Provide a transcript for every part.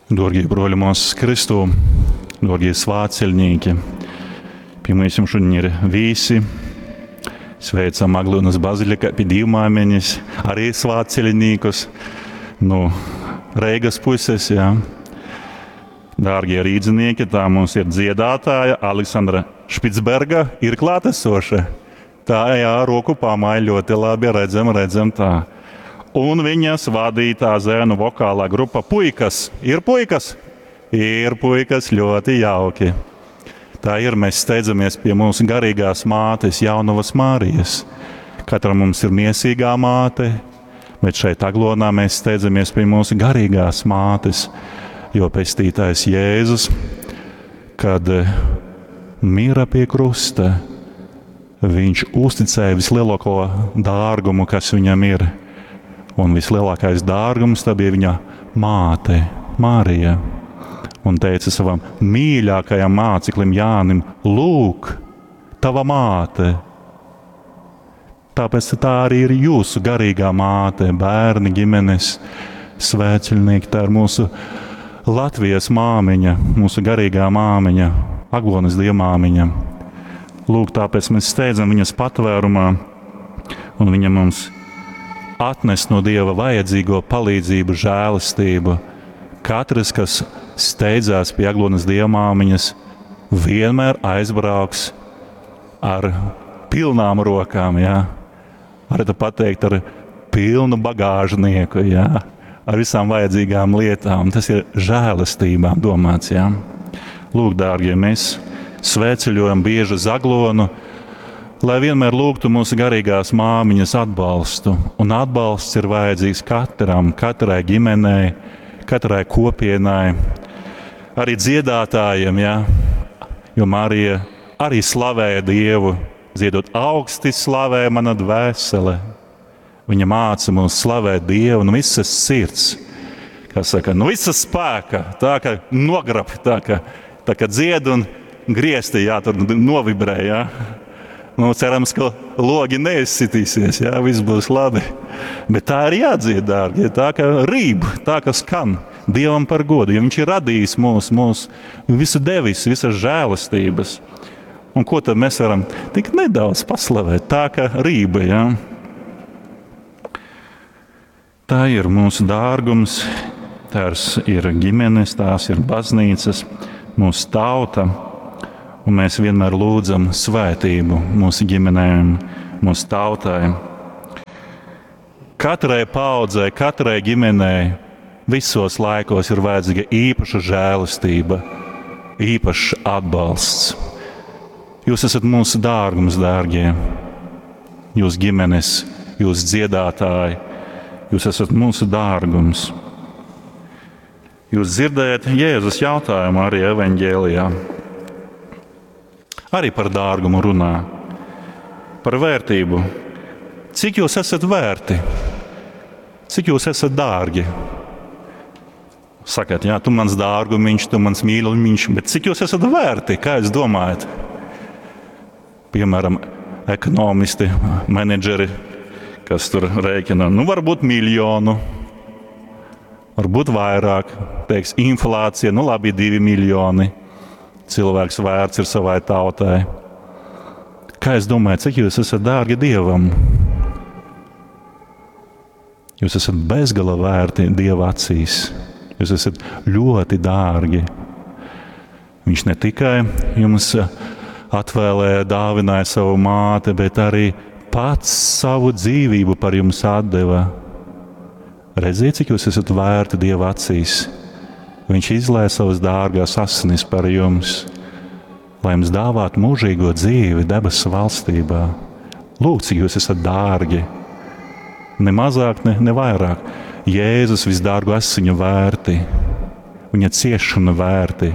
Dōrgī brōļi, mōsas Kristū, dōrgie svātceļnīki, pie mums šodien ir vīsi. Sveicam Aglyunas bazilikā pie Dīvmāmeņas, arī svātceļnīkus no Reigas puses, jā. Dārgie rīdzinieki, tā mums ir dziedātāja Aleksandra Špicberga, ir klātesoša. Tā, jā, roku pamāja ļoti labi, redzam, redzam tā. Un viņas vadītā zēnu vokālā grupa Puikas. Ir puikas? Ir puikas, ļoti jauki. Tā ir, mēs steidzamies pie mūsu garīgās mātes, Jaunavas Mārijas. Katram mums ir miesīgā māte, bet šeit Aglonā mēs steidzamies pie mūsu garīgās mātes, jo pestītājs Jēzus, kad mira pie krusta, viņš uzticēja vislielāko dārgumu, kas viņam ir. Un vislielākais dārgums tā bija viņa māte, Marija. Un teica savam mīļākajam māceklim Jānim: Lūk, tava māte! Tāpēc tā arī ir jūsu garīgā māte, bērni, ģimenes, svētceļnieki. Tā ir mūsu Latvijas māmiņa, mūsu garīgā māmiņa, Aglonas dievmāmiņa. Lūk, tāpēc mēs steidzam viņas patvērumā, un viņa mums atnes no Dieva vajadzīgo palīdzību, žēlastību. Katrs, kas steidzās pie Aglonas dievmāmiņas, vienmēr aizbrauks ar pilnām rokām, jā. Varētu pateikt, ar pilnu bagāžnieku, jā, ar visām vajadzīgām lietām. Tas ir žēlastībām domāts, jā. Lūk, dārgie, mēs svētceļojam bieži uz Aglonu, lai vienmēr lūgtu mūsu garīgās māmiņas atbalstu. Un atbalsts ir vajadzīgs katram, katrai ģimenei, katrai kopienai, arī dziedātājiem, jā. Jo Marija arī slavēja Dievu, dziedot augsti slavē mana dvēsele. Viņa māca mums slavēt Dievu no visas sirds, kā saka, no visas spēka, tā ka nograb, tā ka dzied un griesti, jā, tur novibrē, jā. Nu, cerams, ka logi neizsitīsies, jā, viss būs labi. Bet tā ir jādzied, dārgie, tā ka rīb, tā ka skan Dievam par godu, jo Viņš ir radījis mūs, mūs visu devis, visas žēlastības. Un ko tad mēs varam tik nedaudz paslavēt, tā ka rība, jā. Tā ir mūsu dārgums, tās ir ģimenes, tās ir baznīcas, mūsu tauta. Un mēs vienmēr lūdzam svētību mūsu ģimenēm, mūsu tautai. Katrai paaudzei, katrai ģimenei visos laikos ir vajadzīga īpaša žēlastība, īpašs atbalsts. Jūs esat mūsu dārgums, dārgie. Jūs ģimenes, jūs dziedātāji, jūs esat mūsu dārgums. Jūs dzirdējat Jēzus jautājumu arī evaņģēlijā. Arī par dārgumu runā, par vērtību. Cik jūs esat vērti? Cik jūs esat dārgi? Sakat, jā, tu mans dārgumiņš, tu mans mīlumiņš, bet cik jūs esat vērti? Kā jūs domājat? Piemēram, ekonomisti, menedžeri, kas tur rēķina, nu varbūt miljonu, varbūt vairāk, teiks, inflācija, nu labi, 2 miljoni. Cilvēks vērts ir savai tautai. Kā es domāju, cik jūs esat dārgi Dievam? Jūs esat bezgala vērti Dieva acīs. Jūs esat ļoti dārgi. Viņš ne tikai jums atvēlēja, dāvināja savu māti, bet arī pats savu dzīvību par jums atdeva. Redziet, cik jūs esat vērti Dieva acīs. Viņš izlēja savas dārgās asinis par jums, lai jums dāvātu mūžīgo dzīvi debesu valstībā. Lūk, cik jūs esat dārgi. Ne mazāk, ne vairāk. Jēzus visdārgo asiņu vērti, viņa ciešanu vērti,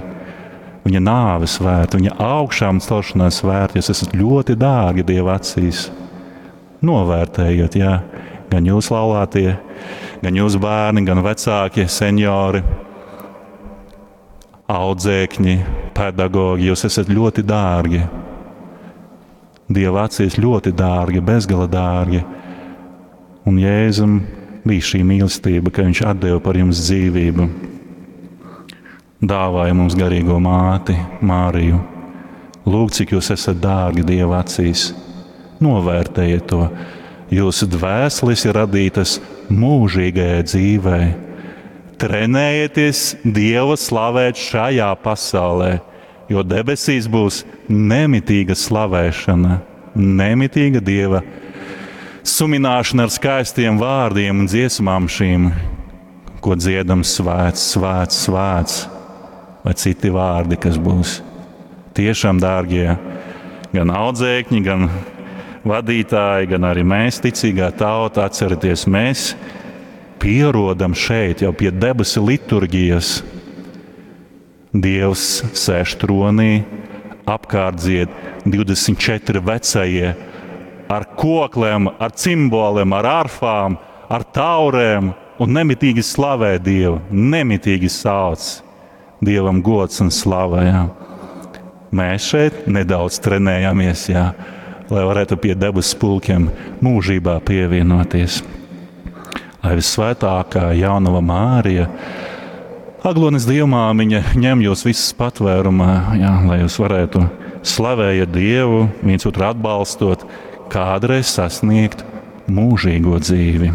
viņa nāves vērti, viņa augšām celšanās vērti. Jūs esat ļoti dārgi Dieva acīs. Novērtējiet, jā, gan jūs laulātie, gan jūs bērni, gan vecāki, seniori, audzēkņi, pedagogi, jūs esat ļoti dārgi. Dieva acīs ļoti dārgi, bezgala dārgi. Un Jēzum bija šī mīlestība, ka viņš atdeva par jums dzīvību. dāvāja mums garīgo māti Māriju. Lūk, cik jūs esat dārgi Dieva acīs. Novērtējiet to. Jūsu dvēseles ir radītas mūžīgajai dzīvei. Trenējieties Dievu slavēt šajā pasaulē, jo debesīs būs nemitīga slavēšana, nemitīga Dieva sumināšana ar skaistiem vārdiem un dziesmām šīm, ko dziedam svēts, svēts, svēts, vai citi vārdi, kas būs. Tiešām, dārgie, gan audzēkņi, gan vadītāji, gan arī mēs, ticīgā tauta, atcerieties, mēs pierodam šeit jau pie debesu liturgijas. Dievs sēž tronī, apkārt dzied 24 vecie ar koklēm, ar cimboliem, ar arfām, ar taurēm un nemitīgi slavē Dievu, nemitīgi sauc Dievam gods un slava. Jā. Mēs šeit nedaudz trenējamies, jā, lai varētu pie debesu pulkiem mūžībā pievienoties. Lai visvētākā jaunava Mārija, Aglonas dievmāmiņa ņem jūs visus patvērumā, jā, lai jūs varētu slavējiet Dievu, viens otru atbalstot, kādreiz sasniegt mūžīgo dzīvi.